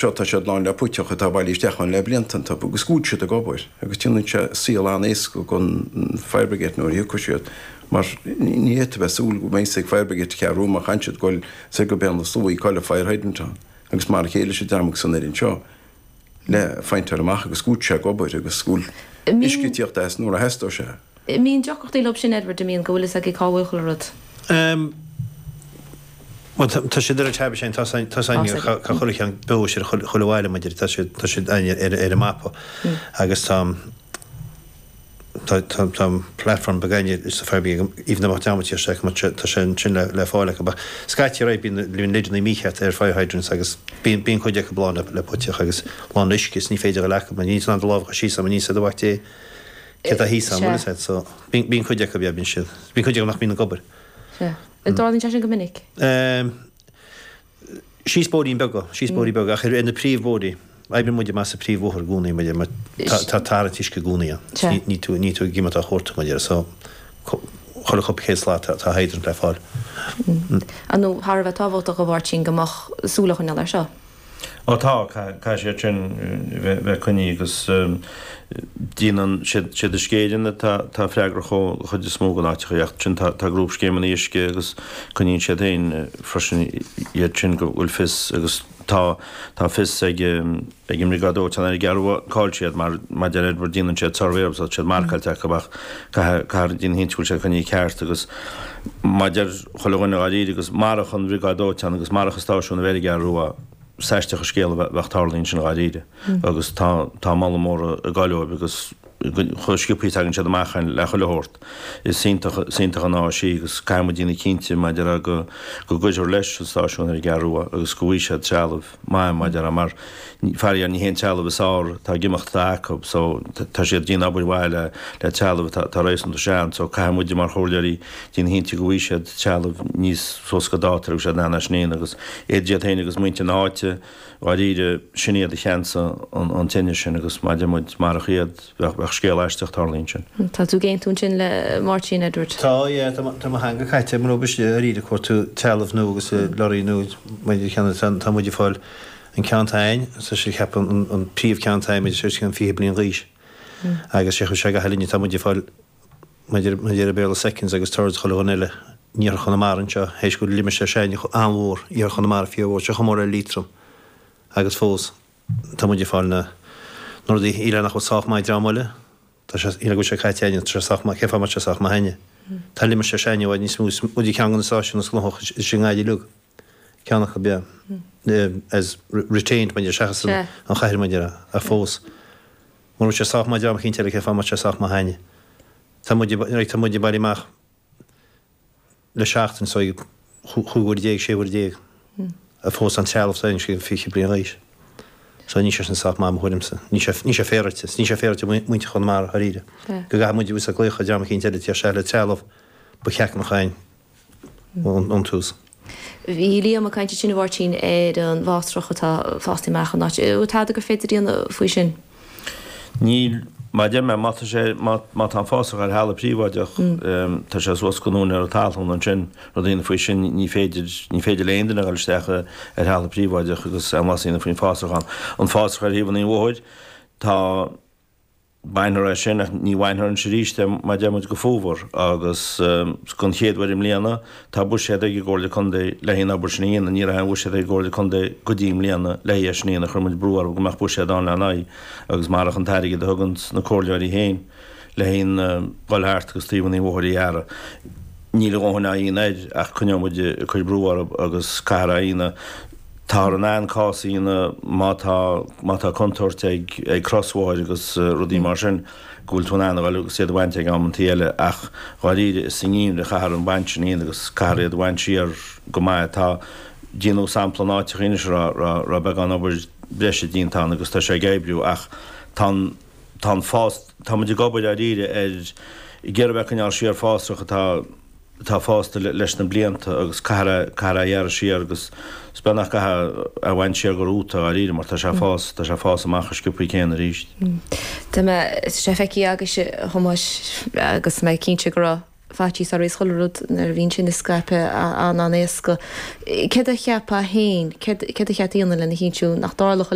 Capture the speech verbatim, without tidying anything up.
Seo tá siad lán le puiteach atá bailithe isteach ann le blianta iontu agus go bhfuil siad ag obair agus déanann sé saol an-éasca don fire brigade nuair a thiocfaidh siad mar ní fhéadfá a bheith súil go mbeidh ag fire brigade ceathrú má chan siad goil soir go Béal na Sluaighe cá bhfuil fire hydrant ann agus mar a chéile leis an dream agus an fhoireann seo le phointeáil amach agus go bhfuil sé ag obair agus go bhfuil uisce ag tíocht as nuair a theastóidh sé. Mbíonn deacrachtaí leo sin Edward, an mbíonn go bhfuil fhios aige cá bhfuil chuile rud. Bhuel tá siad ar an tab sin, tá tá cá chuile cheann beo siad chuile bhaile maidir tá siad tá siad ar ar an mapa agus tá tá tá tá platform beag againne sa fire brigade even though tá sé tá sé sin le le fáil acu scaití rá bíonn bíonn lideanna mícheart ar fire hydrants agus bíonn bíonn cuid acu lán le le puiteach agus lán le uisce is ní féidir le acu ní an lámh síos am ní sa do bhacht cé tá thíos am bhfuil so bíonn bíonn cuid acu bíonn siad bíonn cuid acu nach mbíonn ag obair. Sea. An dtarlaíonn sé sin go minic? Síos bóithrín beaga, síos bóithrí beaga ach ar na príomhbhóithrí. Oibríonn muid amach sa príomhbhóthar i gcónaí muid mar tá tá tarraingt uisce i gcónaí ann. Sea. Ní tú ní tú ag imeacht á chuartú muid air so chuile chúpla céad slat tá tá hydrant le fáil. Ar ndóigh thar a bheith tábhachtach a Mháirtín go mbeadh súil á choinneáil air seo. Ó tá, caithfidh siad sin bheith coinnithe agus déanann siad siad Uisce Éireann atá atá freagrach ó chuid is mó den áiteacha ach sin tá tá grúpscéimeanna uisce agus coinníonn siad féin freisin iad sin go bhfuil fios agus tá tá fios ag ag an mbriogáid dóiteáin ar an gCeathrú Rua cá bhfuil siad mar mar deir Edward déanann siad suirbhé agus tá siad marcáilte acu ach caithfidh caithfidh déanamh cinnte go bhfuil siad coinnithe ceart agus mar deir chuile dhuine dháiríre agus marach an bhriogáid dóiteáin agus marach an stáisiún a bheith ar an gCeathrú Rua is aisteach an scéal a bheadh tarlaithe ansin dháiríre agus tá tá moladh mór ag gabháil dóibh agus chomh sciobtha a tagann siad amach le chuile shórt. Is iontach is iontach an áis í agus caithfidh muid déanamh cinnte maidir le go go gcuirfear leis an stáisiún ar an gCeathrú Rua agus go bhfaighidh siad trealamh maith maidir le mar faraor ní hé an trealamh is fearr atá ag imeacht atá acu so tá siad ag déanamh obair mhaith le le trealamh atá atá réasúnta sean so caithfidh muide mar chomhairleoirí déanamh cinnte go bhfaighidh siad trealamh níos suas go dáta agus siad in ann é sin a dhéanamh agus iad iad féin agus muintir na háite dháiríre sin iad a cheansaigh an an tine sin agus mar deir muid marach iad bheadh bheadh scéal aisteach tarlaithe ansin. Tá tú ag aontú ansin le Máirtín Edward? Tá, yeah, tá tá mo theanga caite mar ambaiste dáiríre cuartú trealamh nua agus lorraí nua maidir cheana tá tá muid ag fáil an ceann atá againn tá sé ceapadh an an príomhcheann atá againn muid sé an fiche bliain d'aois agus sé chuir sé gach linne tá muid ag fáil maidir maidir le Béarla seconds agus thirds chuile dhuine eile in iarthar Chonamara anseo théis go bhfuil limistéar s'againne an-mhór iarthar Chonamara fíormhór sé chomh mór le Liatroim agus fós tá muid ag fáil na na rudaí eile nach bhfuil sách maith dream eile tá sé go bhfuil sé caite againne tá sé sách maith cén fáth mbeadh sé sách maith againne tá limistéar s'againne i bhfad níos mó muid ag ceann de na stáisiúin is gnóthach is i nGaillimh uilig ceann acu yeah as retained maidir seachas an an chathair maidir ach fós mura bhfuil sé sách maith dream eicínt eile cén fáth mbeadh sé sách maith againne tá muid tá muid ag bailiú amach le seachtain so chúig uair déag sé uair déag a fós an trealamh sa sé fiche bliain d'aois. So ní sé sin sách maith mo thuairimse. Ní sé ní sé féaráilte, ní sé féaráilte muintir Chonamara dháiríre. Go gcaithfidh muid a glaoch ar dream eicínt eile tíocht isteach le trealamh ba cheart a bheith againn ón tús. Bhí Liam ag caint ansin a Mháirtín ar an bhfásrach atá fásta amach an áit. Bhfuil tada gur féidir a dhéanamh faoi sin? Níl, mar a deir mé, má tá sé, má má tá an fásach ar thalamh príobháideach, tá sé suas go n-úinéir an talún ansin, rud a dhéanamh faoi sin, ní féidir, ní féidir le aon duine a dhul isteach ar thalamh príobháideach agus aon mhaitheas a dhéanamh faoin bhfásach ann. An fásach ar thaobh an bhóthair, tá, bainfear é sin ach ní bhainfear anois arís é mar deir muid go fómhar agus don chéad uair i mbliana tá buiséad ag an gComhairle Contae le haghaidh an obair sin a dhéanamh. Ní raibh aon bhuiséad ag an gComhairle Contae go dtí i mbliana le haghaidh é sin a dhéanamh. Chuir muid brú orthu go mbeadh buiséad ann lena aghaidh agus marach an t-airgead a thugann na comhairleoirí féin le haghaidh an dhul thart agus taobh an bhóthair a ghearradh níl a dhóthain á dhéanamh air ach coinneoidh muid ag cur brú orthu agus caithfear é a dhéanamh. Táthar in ann cás a dhéanamh má tá má tá contúirt ag ag crosbhóthair agus rudaí mar sin go bhfuil tú in ann a dhul agus iad a bhaint ag amantaí eile ach dháiríre is sa ngeimhreadh a chaithfear an baint sin a dhéanamh agus caithfear iad a bhaint siar go maith. Tá déanadh sampla in áiteacha anois a raibh raibh raibh beagán obair breise déanta ann agus tá sé ag oibriú ach tá an tá an fás tá muid ag obair dháiríre ar ag iarraidh bheith ag coinneáil siar fásach atá atá fásta leis na blianta agus caithfear é caithfear é a ghearradh siar agus is beag nach gcaithfear é a bhaint siar go rúta dháiríre mar tá sé ag fás tá sé ag fás amach chomh sciobthaí céanna arís. Tá mé tá sé feicthe agaibhse a Thomáis agus mé cinnte go raibh faitíos orthu is chuile rud nuair a bhíonn sin ag scaipeadh an-an-éasca. Céard a cheapfá féin, céard a cheart a dhéanamh lena chinntiú nach dtarlódh a